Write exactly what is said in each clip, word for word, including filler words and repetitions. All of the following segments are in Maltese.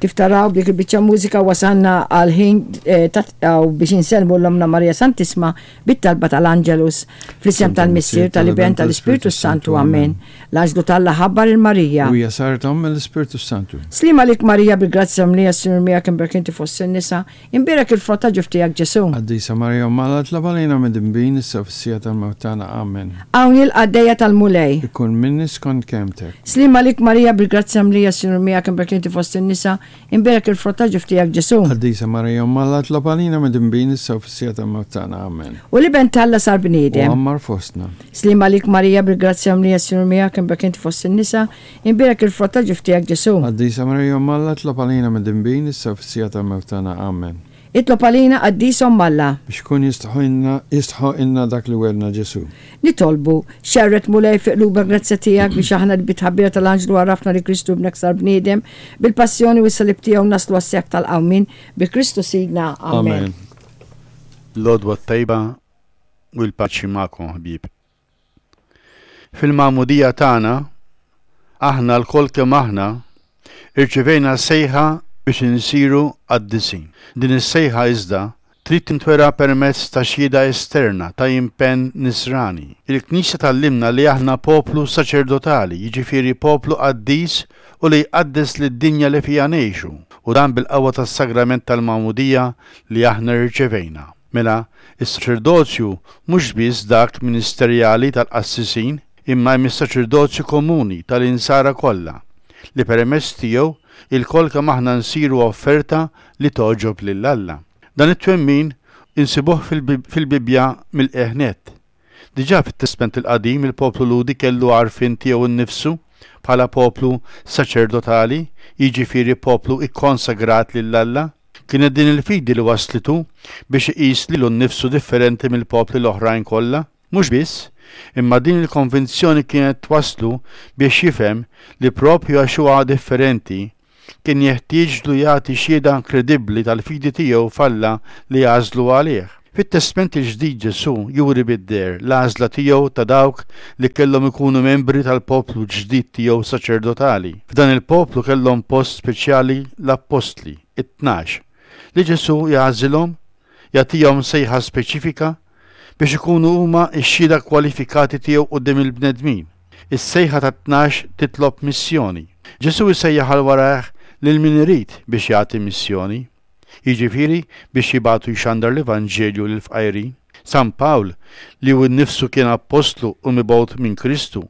Kif taraw b'dik il-biċċa mużika wasalna għal ħin eh, biex insellmu 'l Ommna Marija Santissma bit-talba tal-Angelus fl-isem tal-Missier, tal-Iben, tal-Ispirtu Santu. Amen. L-Anġlu t'Alla ħabbar lil Marija. U hija saret omm mill-Ispirtu Santu. Sliem għalik Marija bil-grazzja mimlija s-Sinjur miegħek imberka inti fost in-nisa, imbierek il-frott ta' ġuf tiegħek Ġesu. Qaddisa Marija Omm Alla itlob għalina midinbin issa fis-siegħa tal-mewt tagħna. Amen. Hawn il-qaddejja tal-Mulej. Ikun minni skont kelmtek. Sliem għalik Marija bil-grazzja mimlija s-Sinjur miegħek imberka inti fost in-nisa, imbierek il-frott ta' ġuf tiegħek Ġesu. Qaddisa Marija Omm Alla itlob għalina midinbin issa fis-siegħa tal-mewt tagħna. Amen. U l-Iben t'Alla sar U bniedem. għammar fostna. Sliem għalik Marija bil-grazzja mimlija s-Sinjur miegħek imberka inti fost in-nisa, imbierek il-frott ta' ġuf tiegħek Ġesu. Qaddisa Marija Omm Alla itlob għalina midinbin issa fis-siegħa tal-mewt tagħna. Amen. Itlob għalina Qaddisa Omm Alla. Biex ikun jistħoqqilna dak li wegħedna Ġesu. Nitolbu, xerred Mulej fi qlubna l-grazzja tiegħek biex aħna li bit-tħabbira tal-Anġlu għarafna li Kristu ibnek sar bniedem, bil-passjoni u s-salib tiegħu naslu għas-sebħ tal-qawmien, bi Kristu Sidna. Amen. Amen. L-għodwa t-tajba u l-paċi magħkom ħbieb. Fil-magħmudija tagħna, aħna lkoll kemm aħna, irċivejna sejħa biex insiru qaddisin. Din is-sejħa iżda trid tintwera permezz ta' xhieda esterna ta' impenn nisrani. Il-Knisja tgħallimna li aħna poplu saċerdotali, jiġifieri poplu qaddis u li jqaddes lid-dinja li fiha ngħixu, u dan bil-qawwa tas-sagrament tal-magħmudija li aħna rċevejna. Mela, is-saċerdozju mhux biss dak ministerjali tal-qassisin, imma hemm is-saċerdozju komuni tal-insara kollha, li permezz tiegħu ilkoll kemm aħna nsiru offerta li togħġob lil Alla. Dan it-twemmin insibuh fil-Bibbja mill-qiegħ nett. Diġà fit-Testment il-Qadim il-poplu Lhudi kellu għarfien tiegħu nnifsu bħala poplu saċerdotali, jiġifieri poplu ikkonsagrat lil Alla. Kienet din il-fidi li waslitu biex iqis lilu nnifsu differenti mill-popli l-oħrajn kollha. Mhux biss, imma din il-konvinzjoni kienet twaslu biex jifhem li propju għax huwa differenti kien jeħtieġlu jagħti xhieda kredibbli tal-fidi tiegħu f'Alla li għażlu għalih. Fit-Testment il-Ġdid Ġesu juri bid-dehra l-għażla tiegħu ta' dawk li kellhom ikunu membri tal-poplu ġdid tiegħu saċerdotali. F'dan il-poplu kellhom post speċjali l-appostli, it-tnax, li Ġesu jagħżilhom, jagħtihom sejħa speċifika biex ikunu huma x-xhieda kwalifikati tiegħu quddiem il-bnedmin. Is-sejħa tat-tnax titlob missjoni. Ġesu jsejjaħ għal warajh lil min irid biex jagħti missjoni. Jiġifieri biex jibagħtu jxandar l-Evanġelju lill-fqajrin. San Pawl, li hu nnifsu kien appostlu u mibgħut minn Kristu,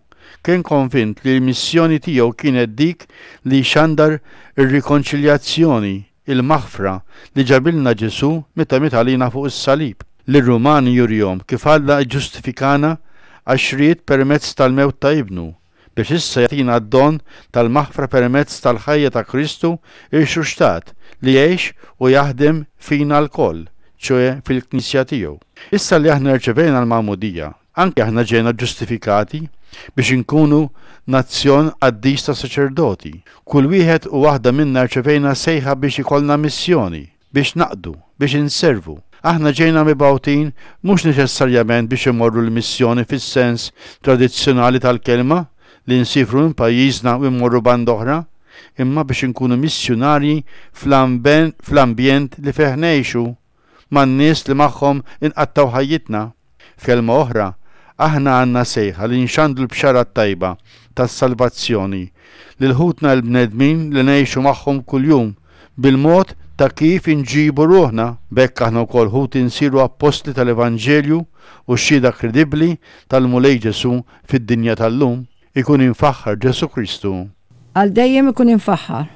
kien konvint li l-missjoni tiegħu kienet dik li jxandar ir-rikonċiljazzjoni, il-maħfra li ġabilna Ġesu meta miet għalina fuq is-salib. Lir-Rumani jurihom kif Alla ġġustifikana għax ried permezz tal-mewt ta' ibnu, biex issa jagħtina d-don tal-maħfra permezz tal-ħajja ta' Kristu irxuxtat li jgħix u jaħdem fina lkoll, ċoè fil-Knisja tiegħu. Issa li aħna rċevejna l-magħmudija, anke aħna ġejna ġustifikati biex inkunu nazzjon qaddis ta' saċerdoti. Kull wieħed u waħda minna rċevejna sejħa biex ikollna missjoni, biex naqdu, biex inservu. Aħna ġejna mibgħutin mhux neċessarjament biex imorru l-missjoni fis-sens tradizzjonali tal-kelma li nsifru minn pajjiżna u mmorru band oħra, imma biex inkunu missjunarji fl-ambjent li fih ngħixu man-nies li magħhom inqattgħu ħajjitna. F'kelma oħra, aħna għandna sejħa li nxandru l-bxara t-tajba tas-salvazzjoni lil ħutna l-bnedmin li ngħixu magħhom kuljum bil-mod ta' kif inġibu ruħna. B'hekk aħna wkoll ħuti nsiru appostli tal-Evanġelju u xhieda kredibbli tal-Mulej Ġesu fid-dinja tal-lum. Ikun imfaħħar Ġesu Kristu. Għal dejjem ikun imfaħħar.